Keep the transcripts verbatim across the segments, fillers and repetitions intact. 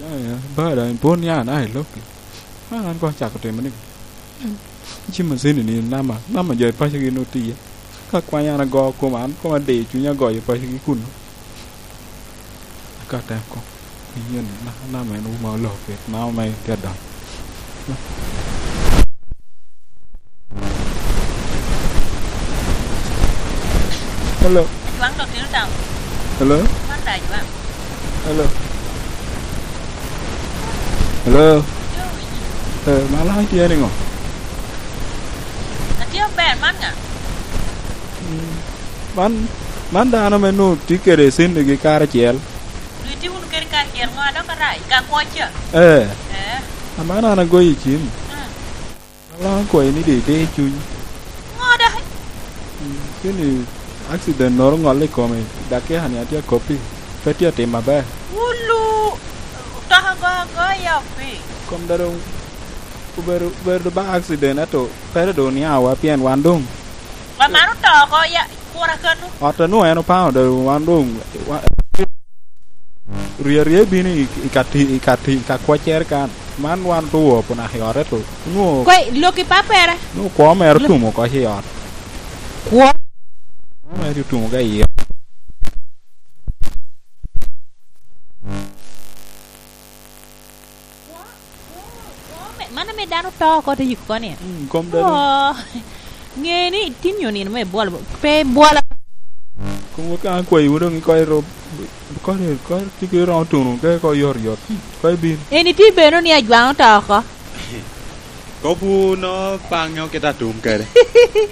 Aya, ba daŋ ipwod ni an aye lokki. An, an koŋ acako timo ni, cim acini ni nama, nama jo i paco gin otiye. Ka kwany an ago koma, an koma diyo cunya goyo paco gi kuno. Aka tem koŋ, iye ni, na, nama en wuma oloo pit, nama ma en tye adongo. Hello. Ajwaŋ dok tino daŋ. Hello. Man da Ajwaŋ. Hello. Hello. Yo, winyi. Eh, ma lany tye niŋo? Atye maber, man ŋa? Mm, man, man dano me nwoŋo tye kede cennigi karacel. Dok itye wunu kede karacel ŋo a dok arac? Ka kwoc ca? Eh. Eh. Aman an agoyi cim. Mm. Alongo kwayi ni doŋ ite cuny. Ŋo dok? Mm, keni accident noro ŋolle i kome, dakika ni atye akoppi, pe tye atim aber. Wulu, toka go agoya opi. Kom da doŋ obedo, obedo ba accident, ento pe doŋ oniawa pien wan doŋ. Wa man oto oko ya, kura kanu? Ot a nwoŋo en opaŋo doŋ wan doŋ, wa-, Rye arye bino i, i ka ti-, i ka ti-, i ka kwaccere kan. Man wan otwo opo naka i ot, ento onwoŋo Kwe, lok i pappere. Nwoŋo kwo mere otum oko i ot. Kwo? Kwo mere otum oko i ot. Kwo, kwo, kwo me-, mano me dano to oko te yiko oko ni? Mm, kom dano. Oh, ŋe ni tin nyo nino me bwolo, pe bwolo. Kom ka an kwayi wun doŋ ikoto i rob. Kodi, kodi tye ki romo tuno, ka ikoto yot yot, kodi bin. Eni tye beno ni Ajwaŋ oto oko. Kop wunu paŋe okito atum kede.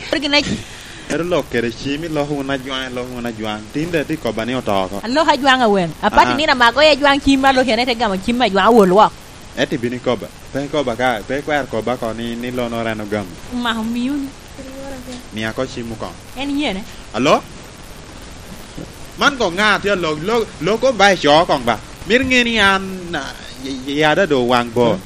Kodi gin ac- Ero lok kede cim, iloko wunu Ajwaŋ, iloko wunu Ajwaŋ. Tin daŋ tye kobba ni oto oko. Aloko Ajwaŋ awen. Apati Aha. nino amako i Ajwaŋ cim, aloko ene te gamo cim Ajwaŋ awol wok. Ento ibino ikobba. Pe ikobba ka, pe ikwero kobba ko ni, ni lonoro en ogamo. Omako miyo ni. Mia ko cim okoŋ. En yene? Alo? Man koŋ ŋa tye alok, lok, lok koŋ ba ico koŋ ba. Mito ŋe ni an, ah, y-, y-, yada doŋ owaŋ bor.